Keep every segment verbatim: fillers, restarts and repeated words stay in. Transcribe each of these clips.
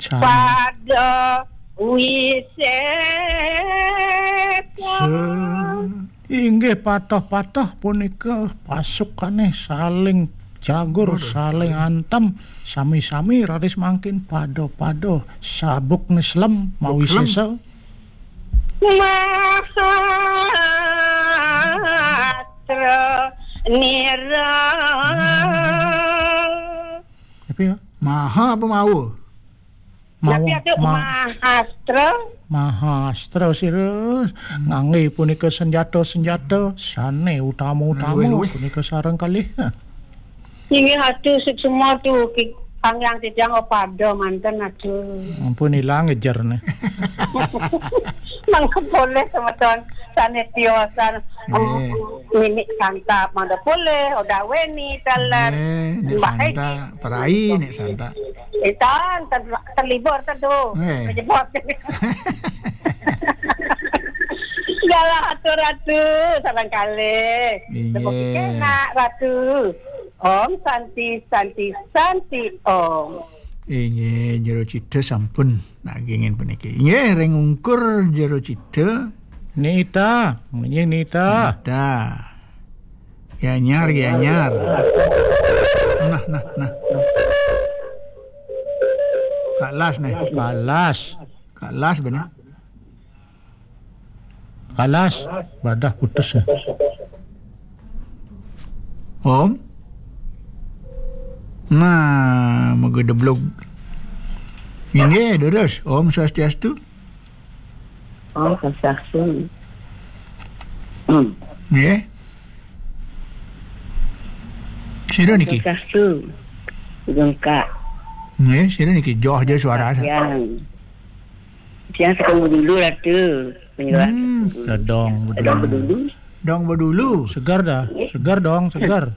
San- Pada wisesa. Se- Inggih, patah-patah punika pasukane saling jagur, Waduh, saling waduh. Antem, sami-sami raris mangkin pada-pada sabuk neslem mawisesa. Mahastra nira. Tapi ya? Maha apa mawa? Mawa, Tapi ada ma- mahastra. Mahastra sira ngangge punika senjata-senjata sane utama-utama Luwih-luwih. Punika sareng kalih. Inggih atuh suksma tuh ki-, kangge titiang pada manten atuh. Ampun ilang ngejer nih. Mangke boleh semeton sane tiosan, em, Nggih. Ninik Santa mangke boleh, Oda Weni, taler. Nggih, Nik Mbak Santa, Edi. Perai Nik Santa. Itan, ter-, terlibur tentu. Nggih. Menyebut. Segala atur ratu, sareng kalih. Inggih. Semoga enak ratu. Om Santi, Santi, Santi Om. Inggih, jero cita sampun nagingin puniki. Inggih, ring ungkur jero cita. Nita, nggih Nita. Nita. Ya nyar, ya nyar. Nah, nah, nah. Kak Las nih. Kak Las. Kak Las bener. Kak Las, badah putus ya. Om. Nah, moga deblog. Inggih, durus. Om Swastiastu. Om Swastiastu. Hmm. Nggih. Sira niki. Swastiastu. Gengkak. Nggih, sira niki joh aja suara. Yang. Yang sekarang dulu ratu. Penjelasan Hmm. Dong Dong bedulu. Bedulu. Dong bedulu. Segar dah. Segar dong, segar.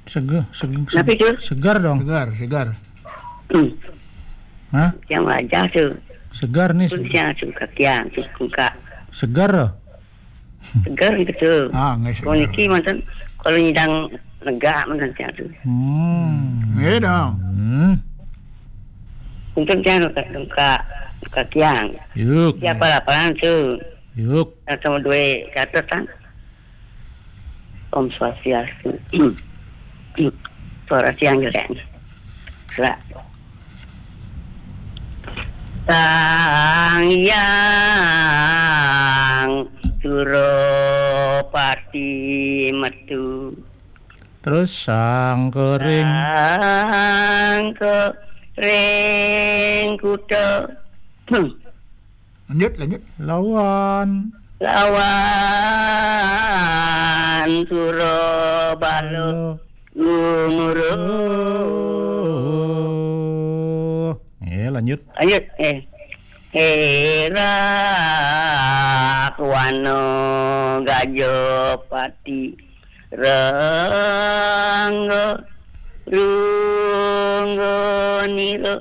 Segar, segar, Kenapa itu? Segar dong. Segar, segar. Hmm. Hah? Yang wajah tu. Segar nih. Tu se- yang suka kiang, suka. Segar loh. Segar gitu. Ah, nggih, segar. Kalau niki mantan, kalau nyidang negak mantan siang tu. Hmm. Nggih dong. Hmm. Untuk yang suka, suka, suka kiang. Yuk. Siapa laporan tu? Yuk. Yang sama dua catatan. Om Swastiastu. Suara siang jelek. Suara. Sang Hyang Suropati metu. Terus sang kering. Sang kering kuda. Lanjut, lanjut. Lawan. Lawan Surabala. Halo. Gumuruh. Oh. Ya, lanjut. Lanjut, eh. Herak wano Gajapati. Rangga, rungga nira.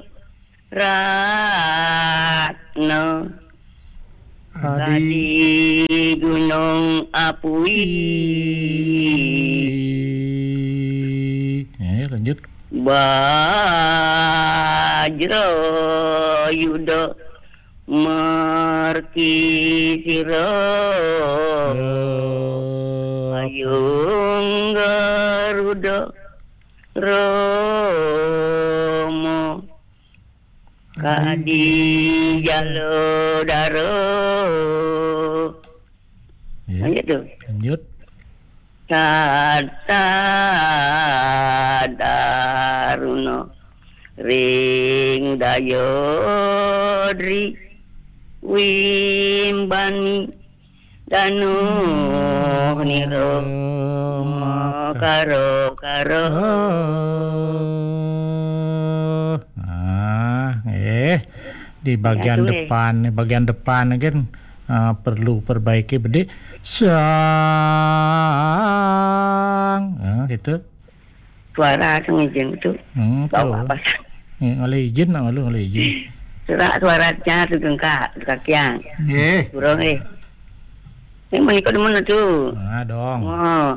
Ratna. Adi. Adi Gunung Apui. Eh, lanjut. Bajra Yuda Merki Sira. Ayung Garuda Rama. Kadi jala dara. Ya. Lanjut tu. Lanjut. Tata daruna ring daya dri wimbani Danuh nira makara-kara. Ah, eh. Di bagian depan, bagian depan kan, ah, perlu perbaiki bedik. Sang. Ah, gitu. Suara sing izin tu. Hmm, tu. Apa? Ngalih izin nak malu ngalih izin. Suara, suaranya tu gengkak, kakiang. Nggih. Burung eh. Ini menikah di mana tu? Ah, dong. Oh.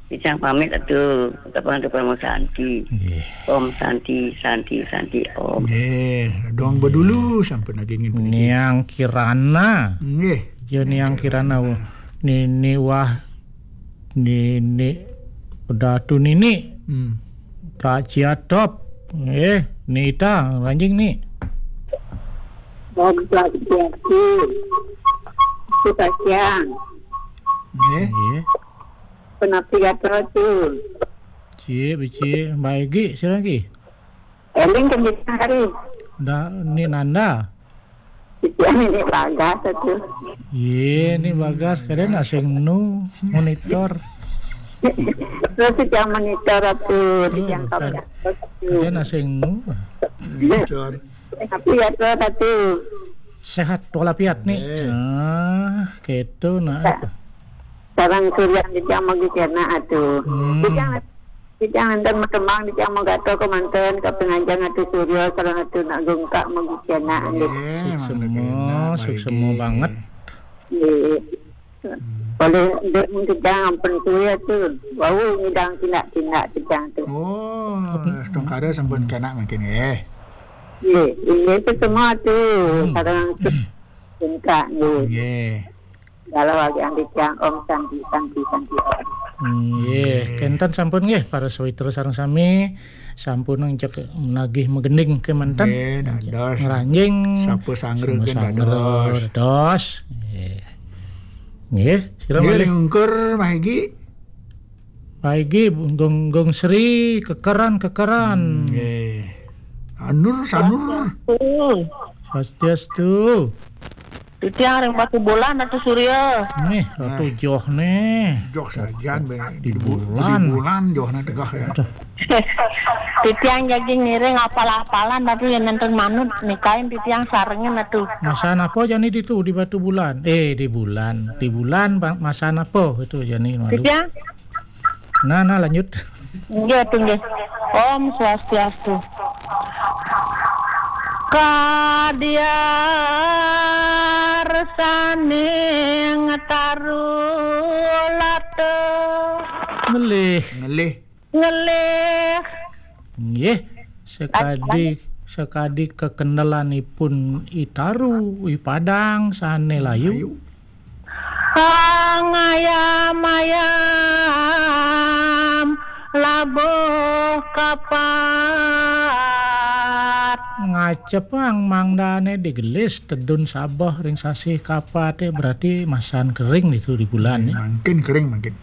Icang pamit atuh, kapan atuh Parama Santi. Nggih. Om Santi, Santi, Santi, Om. Nggih, dong bedulu sampun lagi ngin puniki. Niang Kirana. Nggih. Ya, Niang Kirana. Kirana. Nini Wah, Nini Datu Nini. Hmm. Kak Ciatop. Eh, Nita, ranjing ni. Om Swastiastu. Sukasiang. Nggih. Nggih. Penapi gatel tu. Cie, beci, baigi, sira lagi. Eling kan kita hari. Da, ni Nanda. Titiang ini bagas tu. Ye, ni bagas, kada nak sing nu monitor. Terus titiang monitor tu, titiang kau. Kada nak sing nu. Monitor. Tapi ya tu, satu. Sehat walafiat ni. Eh. Ah, ketu nah. Sareng Surya titiang magi kena atuh. Hmm. Titiang, titiang enten matembang, titiang magato kemanten ka penganjang atuh Surya sareng atuh nak gengkak magi kena atuh. Nggih, suksema, mangga kena suksema baigi. Banget. Nggih. Hmm. Boleh dek titiang ampun kuwi atuh. Wau ngidang tindak-tindak titiang tu. Oh, setungkara sampun kena mungkin nggih. Nggih, nggih suksema atuh. Hmm. Sareng gengkak nggih. Nggih. Kalau lagi ambil tiang Om Santi, Santi, Santi Om. Hmm, nggih, kenten sampun nggih, para sawitra sareng sami, sampun ngecek nagih magending kemanten. Nggih, dados. Ngranjing. Sapa sanggra sama gen sanggra dados. Dados. Nggih. Nggih, sira nggih, malih. Ring ungkur, Mah Egi. Pak Egi, Gong, Gong Sri, kekeran, kekeran. Hmm, nggih. Anur, Sanur. Swastiastu. Swastiastu. Titiang ring Batubulan, Ratu Surya. Nih, Ratu. Nah. Joh nih. Joh sajan, ben, di bu-, di bulan. Di bulan, Johna tegah ya. Aduh. Titiang jagi ngiring apal-apalan, Ratu, yang nenten manut, nikain titiang sarengin, Ratu. Masan apa jani ditu di Batubulan? Eh, di bulan. Di bulan, ba-, masan apa itu jani malu? Titiang? Nah, nah, lanjut. Nggih, atuh, nggih. Om Swastiastu. Kadiar saning tarulata. Ngelih. Ngelih. Ngelih. Nggih, sekadi, sekadi kekendelanipun I Taru, I Padang, sane layu. Layu. Angayam-ayam labuh kapat. Ngacepang mangdane digelis tedun sabeh ring sasih kapate, berarti masan kering itu di bulan, ya. Mangkin kering, mangkin.